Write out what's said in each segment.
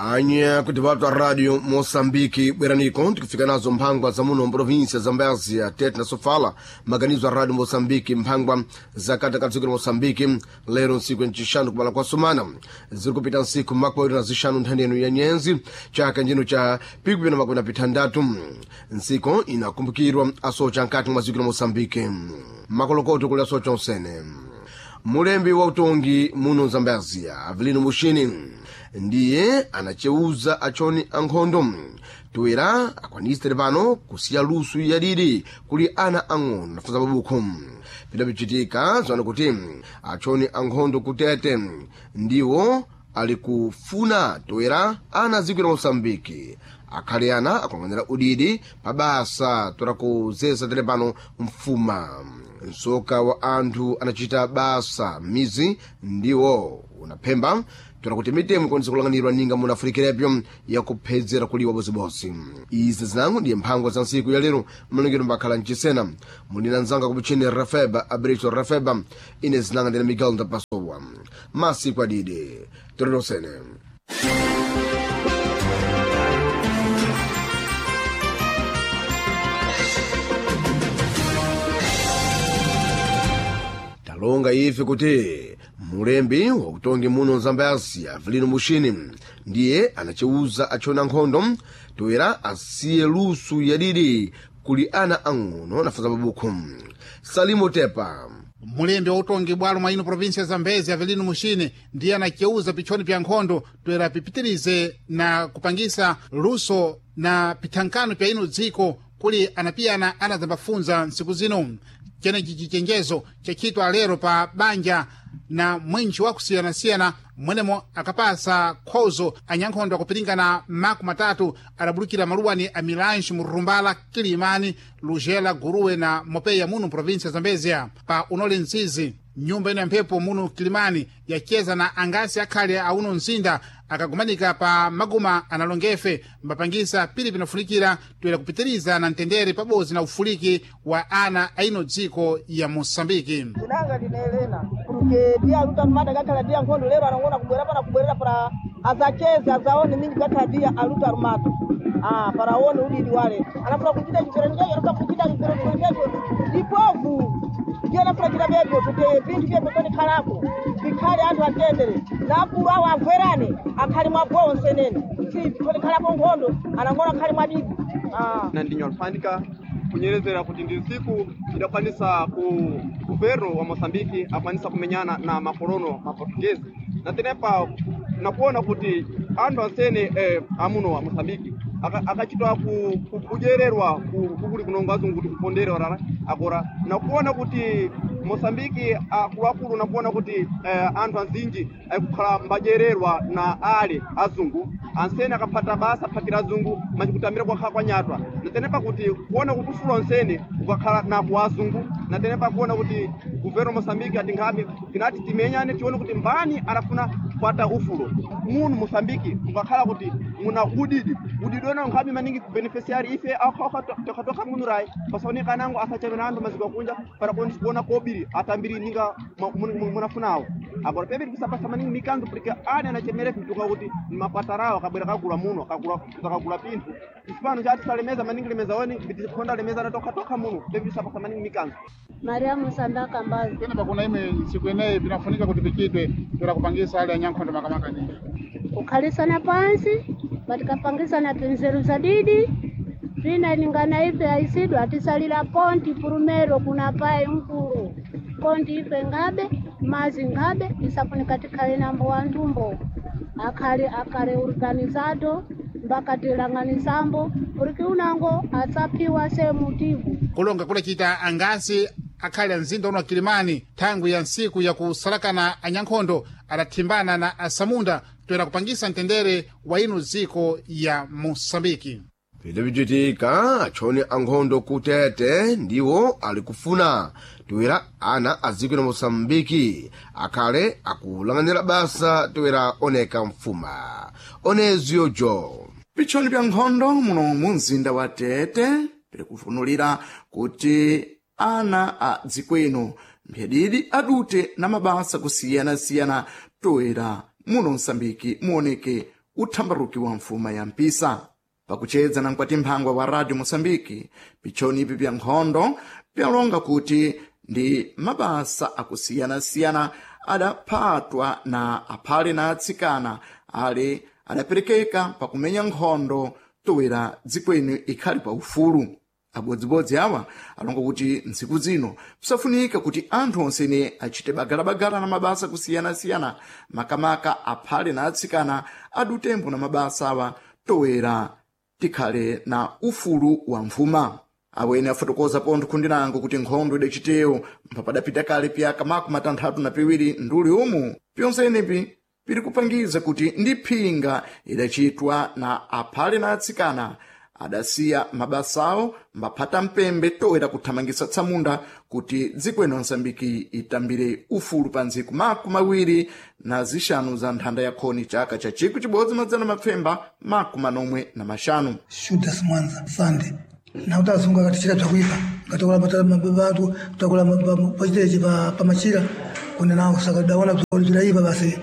Anya kuti vatu radio Moçambique bweraniko tikufika nazo mphangwa za muno mprovinsia Zambézia Tete na Sofala maganizo a radio Moçambique mphangwa za kata dziko la Moçambique lero ntsiku ncixanu kubala kwa sumana ziri kupita ntsiku makumi na zixanu nthandeno ya nyenzi chaka njino cha pikupina makumi na pithandatu ntsiku inakumbukirwa asocha nkati mwa dziko la Moçambique makolokoto kuli asocha onsene mulembi wa utongi muno Zambézia Avelino Mushini ndiye anacheuza achoni ankhondo toera akwanise pano kusiya lusu yadidi kuli ana ang'ono nafunza mabuku pidapichitika zwana kuti achoni ankhondo kutete ndiwo ali kufuna toera ana dziko la Moçambique akhale ana akuyang'anira udidi pa basa toera kuzesa tere pano mfuma msoka wa anthu anachita basa m'mizi ndiwo unaphemba toera kuti mitemo ikwanise kulang'anirwa ninga munafunikirepyo yakuphedzera kuliwa bosibosi izi zinango ndiye mphangwa za ntsiku ya lero mlongero mbakhala mchisena munina nzanga kupuchini rafeba abricho rafeba ine zinanga ndine miguel ndapasowa masiku adidi torerosene talonga ife kuti mulembi wakutongi muno Zambézia Avelino Mushini ndiye anacheuza achona nkhondo toera asiye lusu yadidi kuli ana ang'ono nafunza mabuku Salimo Tepa mulembi wa utongi bwalo mwa ino provinsia ya Zambezi Avelino Mushini ndiye anaceuza pichoni pya nkhondo toera pipitirize na kupangisa luso na pithankano pya ino dziko kuli anapiyana anadzambafunza ntsiku zino cenechi cichenjezo chachitwa lero pa banja na mwinji wakusiyanasiyana mwenemo akapasa khozo anyankhondo akupiringana maku matatu adabulukira maluwani a milanji murumbala kilimani lujela guruwe na mopeya muno provinsia ya zambezia pa unole mzizi nyumba ino ya mphepo muno kilimani yacheza na angasi akhale auno mzinda akagumanika pa maguma analongefe mbapangisa pili pinafunikira toera kupitiriza na mtendere pabodzi na ufuliki wa ana aino dziko ya moçambike zinanga ndine Helena porque dia aluta armada kakhala dia nkhondo lero anangona kubwera pana kubwerera para azacheza azaone mingi kakhala dia aluta armado ah para aone udidi wale anafuna kuchita chiferenjecho anafuna kuchita chiferenjecho ndipovu ndiye anafuna kuchita bebyo kuti pinthu vyebyo konikhalapo vikhale anthu atendere na akulu awo amverane akhali mwagowo nsenene si konikhalapo nkhondo anangona akhali mwadidi ah na ndinyo alifandika kunyerezera kuti ndi ntsiku idakwanisa ku governo wa Moçambique akwanisa kumenyana na makolono ma Portuguese na tenepa nakuona kuti anthu ansene amuno wa Moçambique akachitwa kudyererwa kukuli kunongo azungu kuti kuponderwa rara agora nakuona kuti Moçambique akuluakulu nakuona kuti anthu anzinji aikukhala mbadyererwa na ale azungu ansene akaphata basa aphatira azungu machikutambira kwakhala kwanyatwa natenepa kuti kuona kuti ufulo ansene ukakhala naku azungu natenepa kuona kuti governo Moçambique atinghabe tinati timenyane tione kuti mbani anafuna kupata ufulo munu Moçambique mukakhala kuti muna udidi udidi wena nkhabe maningi kubeneficiary ife tokhatoka munu rai pasaoneka nango asachamira anthu maziko akunja para kuona kobiri atambiri ninga munafunawo agora pebiri kusapasa maningi mikanzo porque ane anachemere mtuka kuti ni mapatarawo akabwera kagula muno akagula pinthu isipano chatisalemeza maningi lemeza weni bitikhonda lemeza na tokhatoka muno pebiri kusapasa maningi mikanzo Mariamu Sandaka Mbazi pena pakuna ime ntsiku ineyi pinafunika kuti pichitwe toera kupangisa ali anyankhondo makamaka nini kukhalisana pansi patikapangisana pinzeru zadidi pina ningana ife aisidwa atisalira ponti purumero kuna paye mkulu konti ife ngabe mazi ngabe isafunika tikhale nambo wanthumbo akhale akhale organizado mpaka tilang'anisambo porque unango asaphiwa semutivu kulonga kulachita angasi akhale amzinda uno wa kilimani thangwi ya ntsiku yakusalakana anyankhondo adathimbana na asamunda toera kupangisa mtendere wa ino dziko ya moçambike Pidapichitika achoni ankhondo kutete ndiwo ali kufuna toera ana a dziko la Moçambique akhale akulang'anira basa toera oneka mfuma oneziyo jo Pichoni pya nkhondo muno mu mzinda wa Tete pili kufunulira kuti ana a dziko ino mphedidi adute na mabasa kusiyanasiyana toera muno Msambiki muoneke uthambaruki wa mfuma ya mpisa. Pakuchedza na mkwati mphangwa wa Radio Moçambique, pichoni ipi pya nkhondo pyalonga kuti ndi mabasa akusiyana-siyana adaphatwa na aphale na atsikana ale adaperekeka pakumenya nkhondo towera dziko ino ikhali pa ufulu. Abodzibodzi awa alonga kuti ntsiku zino pisafunika kuti anthu onsene achite bagalabagala na mabasa kusiyana-siyana, makamaka aphale na atsikana adutembo na mabasa awa towera tikhale na ufulu wa mfuma. Awene afotokoza pontho khundi lango kuti nkhondo idacitewo mpapadapita kale pyaka 62 nduli umu pyonsenepi piri kupangiza kuti ndi phinga idacitwa na aphale na atsikana adasiya mabasawo mbaphata mpembe toera kuthamangisa tsamunda kuti dziko ino Msambiki itambire ufulu pa ntsiku 25 za nthanda ya khoni chaka cha 1995. Shudas Mwanza Sande na utasunga katichira bzakuipa ngatakula mabatu takula pachitechi pamachira kune nawo saka daona bzaipa basi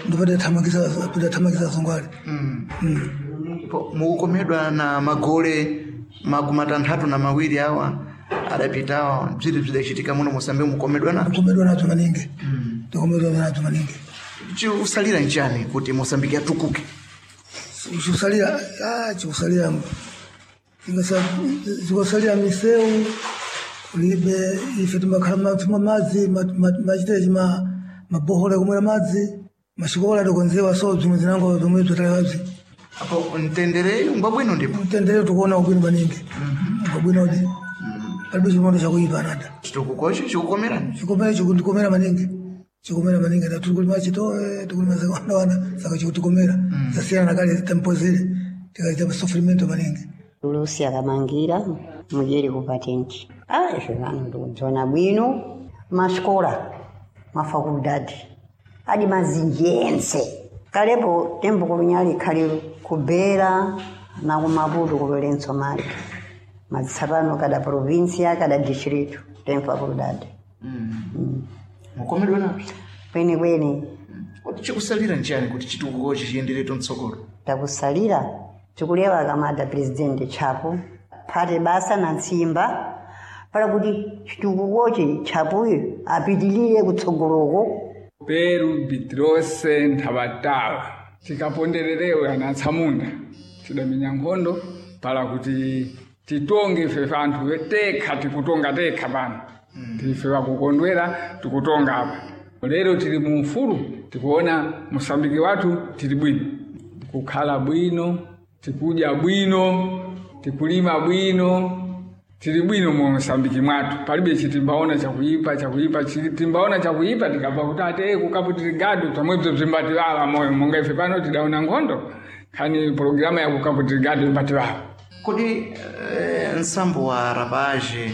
ndopata thamangisa thamangisa sungwale. Mukukomedwa na magole 62 awa adapitawa bziri bzidachitika muno Moçambique, mukomedwa nazo? Mukomedwa nazo maningi, tikomedwa nazo maningi. Chiusalira nchani kuti Moçambique atukuke? Chiusalira chiusalira zikusalira miseu kulibe ife timakhala tumwa madzi machitechi mabohola kumwera madzi mashikola atikonzewa so bzimwe zinango zomwe bzotalewabzi. Apo mtendere ngwabwino ndipo? Mtendere tikuona ubwino maningi, ngwabwino udi palibe chimondo chakuipa nada. Chitukukocho chikukomerani? Chikomera chikundikomera maningi, chikomera maningi na tiri chitoe tikulima zakawanda saka chikutikomera zasiyana na kale tempo zile tikaita sofrimento maningi. Lucy akamangira mujeri kupatenti. Ife vano ndikudzona bwino masikola mafakultati adi mazinji ense kalepo tembo kulunyali khali kubera na kumaputo kulolenso mali madzitsapano kada provinsia kada distrito tem faculdade. Mukomedwa nazo? Kwene kwene. Kuti chikusalira nchani kuti chitukukochi chiyendereto mtsogolo? Takusalira tikulewa kamada presidente Chapo phate basa na ntsimba para kuti chitukukochi Chapoyo apitilire kutsogoloko. Peru Bitrose Nthabatala tikapondererewe ana atsamunda tidamenya nkhondo pala kuti titonge ife anthu tekha tikutonga tekha pano tife vakukondwera tikutonga apa lero tili mu ufulu tikuona Mosambiki wathu tili bwino kukhala bwino tikudya bwino tikulima bwino tili bwino mu Mosambiki mwathu palibe chitimbaona chakuipa chakuipa chitimbaona chakuipa tikabva kuti ate kukaputirigado pamwebzo bzimbativala moyo monga ife pano tidaona nkhondo khani pologirama ya kukaputirigado imbativala. Kodi nsambo wa rapaje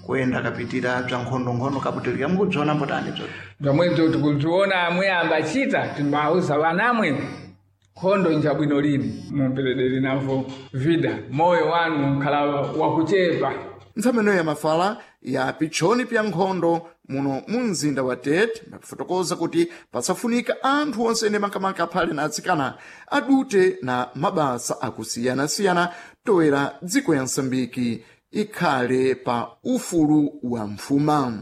kuyenda kapitira bza nkhondonkhondo kaputirika mukubziona mbotani bzo? Bzomwebzo tikubziona amwe ambachita timbauza vanamwe nkhondo njabwino lini mumperedere navo vida moyo wanu nkhala wakuchepa. Ntsameneyo ya mafala ya pitchoni pya nkhondo muno mu mzinda wa Tete makufotokoza kuti pasafunika anthu onse ene makamaka aphale na atsikana adute na mabasa akusiyana-siyana toera dziko ya Msambiki ikhale pa ufulu wa mfuma.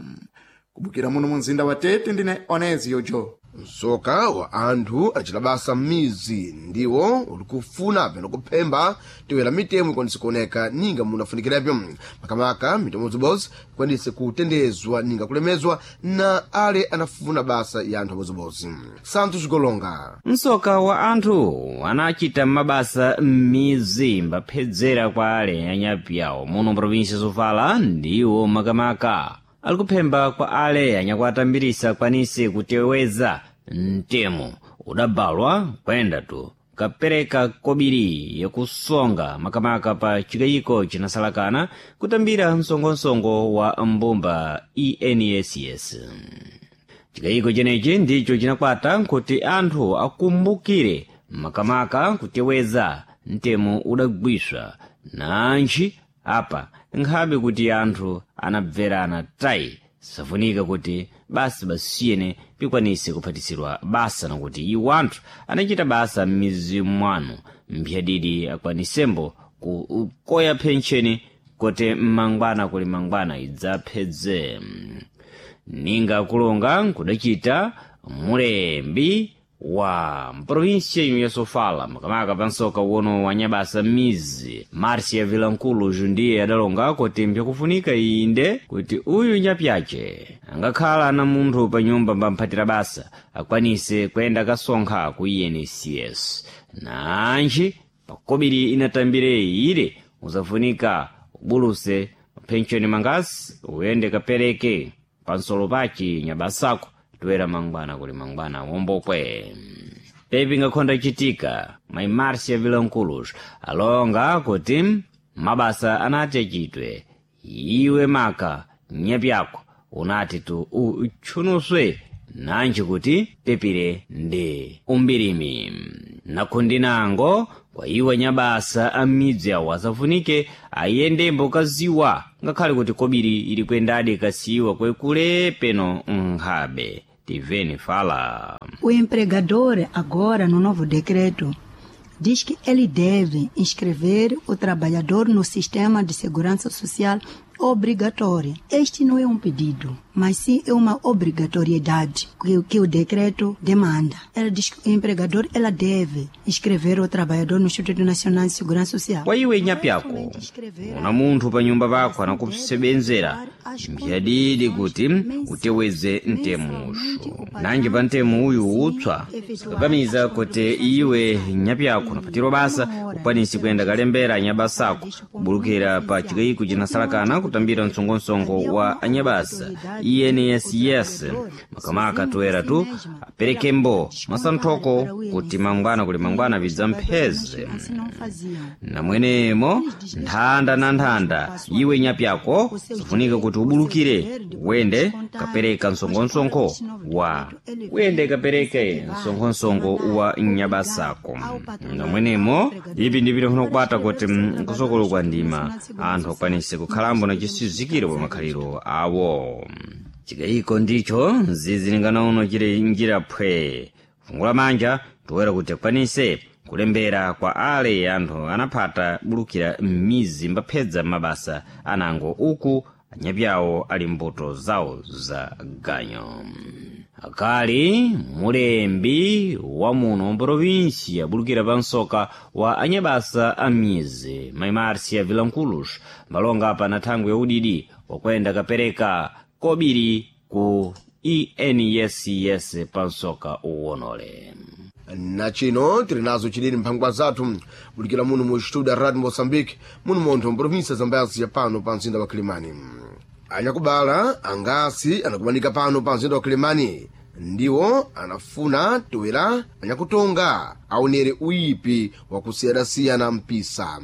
Kubukira muno mu mzinda wa Tete ndine Onezio Jo. Msoka wa anthu acita basa m'mizi ndiwo ulikufuna peno kuphemba tiwera mitemo ikwanise kuoneka ninga munafunikirapyo makamaka mitemo zibodzi ikwanise kutendezwa ninga kulemezwa na ale anafuna basa ya anthu abodzibodzi. Santos Golonga. Msoka wa anthu anachita mabasa m'mizi mbaphedzera kwa ale anyapi awo muno provinsi sofala ndiwo makamaka alikuphemba kwa ale anyakuatambirisa akwanise kuteweza mtemo udabalwa kwenda tu kapereka kobiri yakusonga makamaka pa chikayiko chinasalakana kutambira msongosongo wa mbumba ENSS. Chikayiko chenechi ndicho chinakwata nkuti anthu akumbukire makamaka kuteweza mtemo udagwiswa nanji apa nkhabe kuti anthu anabverana tayi Safunika kuti basi basiyene pikwanise kuphatisirwa basa nakuti iwo anthu anachita basa m'mizi mwanu mphyadidi akwanisembo kukoya phencheni kuti mmangwana kuli mangwana idzaphedze. Ninga kulonga nkudachita mulembi wa mprovinsia ino ya Sofala, makamaka pansoka uwono wa nyabasa m'mizi Marcia Vilankulo ndiye adalonga kuti mpyakufunika inde kuti uyu nyapyace angakhala na munthu pa nyumba mpamphatira basa akwanise kuyenda kasonkha ku INSS nanji pakobiri inatambire ile uzafunika ubuluse penshoni mangasi uyende kapereke pansolo pachi nyabasako toera mangwana kuli mangwana wombokwe. Pepi ngakhonda chitika mai Marcia Vilanculos alonga kuti mabasa anati achitwe iwe maka nyapyako unati tu utchunuswe nanji kuti pepire ndi umbirimi nakhundinango kwa iwo nyabasa a midzi awo asafunike ayendembo kaziwa ngakhale kuti kobiri ili kwendadi kasiwa kwekule peno nkhabe. Tiveni fala. O empregador, agora no novo decreto, diz que ele deve inscrever o trabalhador no sistema de segurança social obrigatória. Este não é um pedido, mas sim é uma obrigatoriedade que o decreto demanda. Ela diz que o empregador ela deve inscrever o trabalhador no Instituto Nacional de Segurança Social. Kwa iwe nyapyako una munthu pa nyumba pako anakusebenzera mphiyadidi kuti uteweze mtemusho nanji pa mtemo uyu utswa sakakamiza kuti iwe nyapyako unapatirwa basa ukwanisi kuyenda kalembera anyabasako kubulukira pa chikayiko chinasalakana kutambira msongosongo wa anyabasa INSS makamaka toera tu aperekembo masanthoko kuti mangwana kuli mangwana vidzampheze namwenemo nthanda na nthanda iwe nyapyako sifunika kuti ubulukire wende kapereka msonkhonsonkho wa wende kapereke msonkhonsongo wa nyabasako namwenemo ipi ndipita kunokwata kuti kusokolo kwa ndima anthu akwanise kukhalambo na chisizikiro pa makhaliro awo. Chikayiko ndicho nzizilingana uno chili njira phwe kufungula manja toera kuti akwanise kulembera kwa ale anthu anaphata bulukira m'mizi mbaphedza mabasa anango uku anyapyawo ali mbuto zawo za ganyo. Akali mulembi wa muno mprovinsia abulukira pa msoka wa anyabasa a mizi mai Marcia Vilanculos malonga pa na thangwi ya udidi wakwenda kapereka kobiri ku INSS pa msoka uwonole. Na chino tili nazo chidini mphangwa zathu bulikira muno mu studio ya Radio Mozambique muno montho mprovinsia Zambezi pano pa mzinda wa Kilimani. Anyakubala angasi anakumanika pano pa mzinda wa Kilimani ndiwo anafuna toera anyakutonga aonere uyipi wakusiyanasiyana mpisa.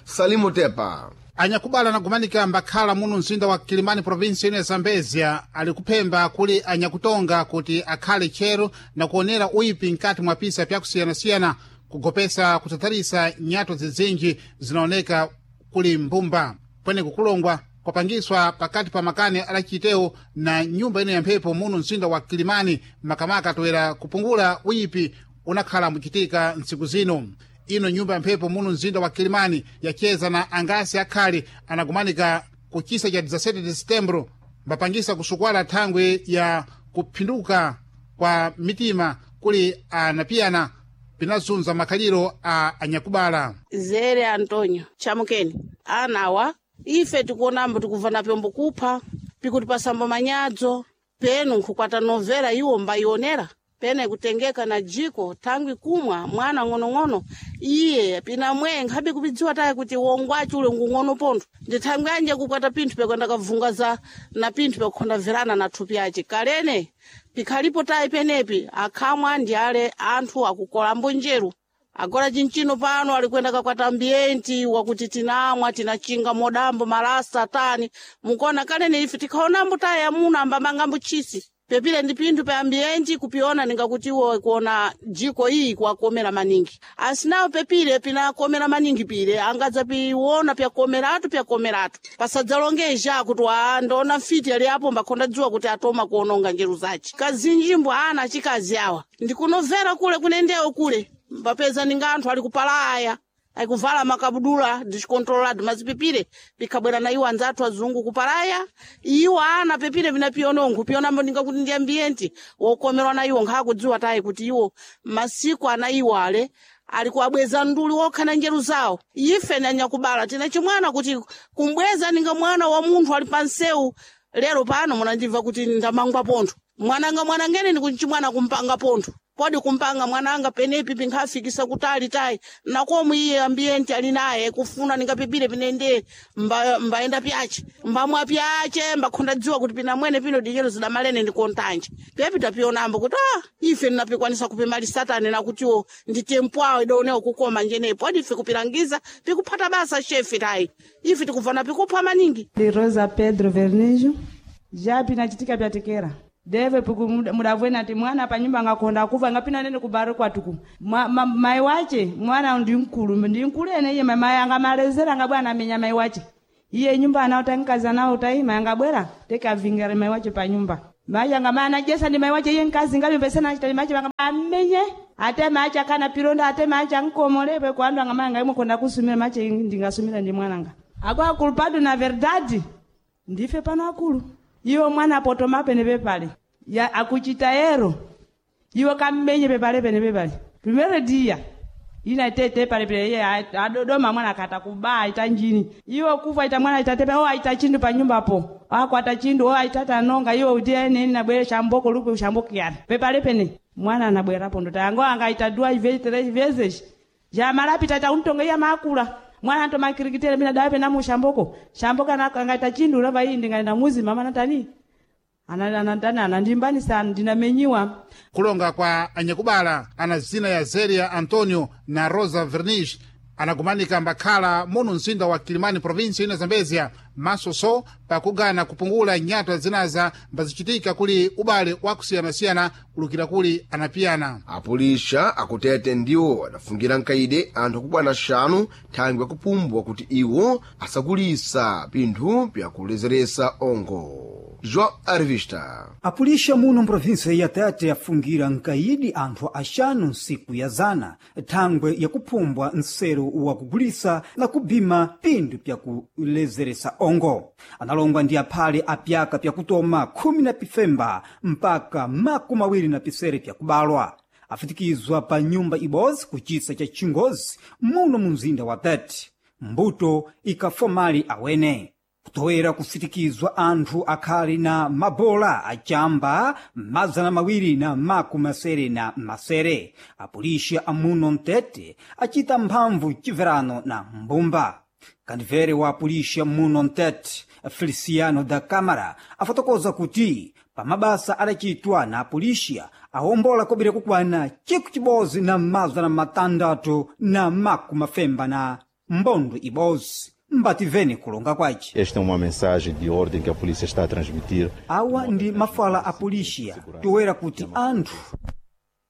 Salimu Tepa. Anyakubala anagumanika mbakhala muno mzinda wa Kilimani provinsi ino ya Zambezia ali kuphemba kuli anyakutonga kuti akhale tcheru na kuonera uyipi mkati mwa pisa pyakusiyanasiyana kugopesa kutatharisa nyato zizinji zinaoneka kuli mbumba pwene kukulongwa kwapangiswa pakati pa makani adachitewo na nyumba ino ya mphepo muno mzinda wa Kilimani makamaka toera kupungula uyipi unakhala muchitika ntsiku zino. Ino nyumba ya mphepo muno mzinda wa Kilimani yacheza na angasi akhali anagumanika ku chisa cha 17 de setembro mbapangisa kusukwala thangwi ya kuphinduka kwa mitima kuli anapiyana pinazunza makhaliro a anyakubala. Zere Antonio chamukeni anawa ife tikuonambo tikubva na pyombo kupha pikuti pasambo manyadzo penu nkhukwata novera iwo mbayionera pene kutengeka na jiko thangwi kumwa mwana ng'onong'ono iye pinamwe nkhabe kupidziwa taye kuti wongwaci ule ngung'ono pontho ndi thangwi anje kukwata pinthu pekwenda kavunga za na pinthu pekukhondaverana na thupi ace kalene pikhalipo tayi penepi akhamwa ndi ale anthu akukolambo njeru agora chinchino pano alikwenda kakwata ambienti wakuti tinamwa tinachinga modambo malasa tani mukona kalene ife tikhaonambo tayi amuna ambamangambo chisi. Pepile ndi pinthu pa ambienti kupiona ningakuti iwo kuona jiko iyi kuwakomera maningi. Asinawo pepile pinakomera maningi pile angadza piona pyakomeratu pyakomeratu. Pasadzalongeja kuti wa ndona mfiti ali apo mbakhonda dziwa kuti atoma kuononga njeru zace. Kazinji mbwa ana achikazi awa ndikunovera kule kunendewo kule mbapeza ninga anthu ali kupalaya akuvala makabudula ndichikontrolado mazipipire pikabwera na iwo anzathu azungu kupalaya iwo ana pepire vinapionongo pionambo ndingakuti ndi ambienti wokomerwa na iwo nkhakudziwa tayi kuti iwo masiku ana iwo ale ali kuwabweza nduli wokha na njeru zawo. Ife nanyakubala tina chimwana kuti kumbweza ninga mwana wa munthu ali pansewu lero pano munandimva kuti ndamangwa pontho mwananga mwanangene ndikuchimwana kumpanga pontho podi kumpanga mwananga penepi pinkhafikisa kutali tayi nakomwe iye ambienti ali naye kufuna ningapipire pinende mba, mbaenda pyace mbamwa pyace mbakhonda dziwa kuti pinamwene pino dinyero zidamalene ndikontanje pepi tapionambo kuti ah ife ndinapikwanisa kupimali satani nakutiwo nditempwawo idaonewo kukoma njeneyi podi ife kupilangiza pikuphata basa shefi tayi ife tikubvana pikupha maningi. Ndi Rosa Pedro Vernijo. Já pinachitika pyatekera. Deve puku mudavwena ati mwana pa nyumba ngakonda kuva ngapina nene kubaro kwatuku. Mai wache mwana ndi mkulu ndi mkulu ene iye mai angamalezera ngabwana amenya mai wache. Iye nyumba anaota nkazi anaota ima angabwera teka vingere mai wache pa nyumba. Mai anga mana jesa ndi mai wache iye nkazi ngabe pesana achita mai wache amenye ate macha kana pironda ate macha nkomolepe kwa andu anga mai anga imwe konda kusumira mache ndingasumira ndi mwananga. Agora culpado na verdade ndife pano akulu. Iwo mwana potoma pene pepale. Ya akuchita ero. Iwo kammenye pepale pene pepale. Primeiro dia. Ina tete pale pele iye adodoma mwana akata kubaa ita njini. Iwo kufa ita mwana itatepe o aita chindu pa nyumba po. Ako ata chindu o aitata nonga iwo utie nini na bwere shamboko lupe shamboko yana. Pepale pene mwana anabwerapo ndo tango anga ita duas vezes três vezes. Já malapi tata untonga iya makula. Mwana anto makirikitere mina dawe pena mu shamboko. Shamboko angaita chindu lava iyi ndingaenda muzi mama natani. Anandana anandimbani sana ndinamenyiwa. Kulonga kwa anyakubala ana zina ya Zeria Antonio na Rosa Vernish anagumanika mbakhala muno mzinda wa Kilimani provinsi ina Zambezia masoso pakugana kupungula nyatwa zinaza mbazichitika kuli ubale wakusiyanasiyana kulukira kuli anapiyana. Apulisha akutete ndiwo adafungira mkaide anthu akukwana xanu thangwi akupumbwa kuti iwo asakulisa pinthu pyakulezeresa ongo. João Arvista. Apulisha muno mprovinsia ya Tete afungira nkaidi anthu axanu nsiku ya zana thangwe yakuphumbwa nseru wa kugulisa na kubima pinthu pyakulezeresa ongo. Analongwa ndi aphale a pyaka pyakutoma khumi na pifemba mpaka 27 pyakubalwa. Afitikizwa pa nyumba ibodzi kuchisa cha chingozi muno mu mzinda wa Tete. Mbuto ikafomali awene. Kutowera kufitikizwa anthu akhali na mabola achamba 267. Apulisha amuno mtete achita mphamvu chibverano na mbumba. Kandivere wa apulisha muno mtete Feliciano da Câmara afotokoza kuti pamabasa adachitwa na apulisha awombola kobiri kukwana 1660 mbondo ibodzi. Mbativeni kulonga kwace. Esta é uma mensagem de ordem que a polícia está a transmitir. Awa ndi mafala a polícia toera kuti anthu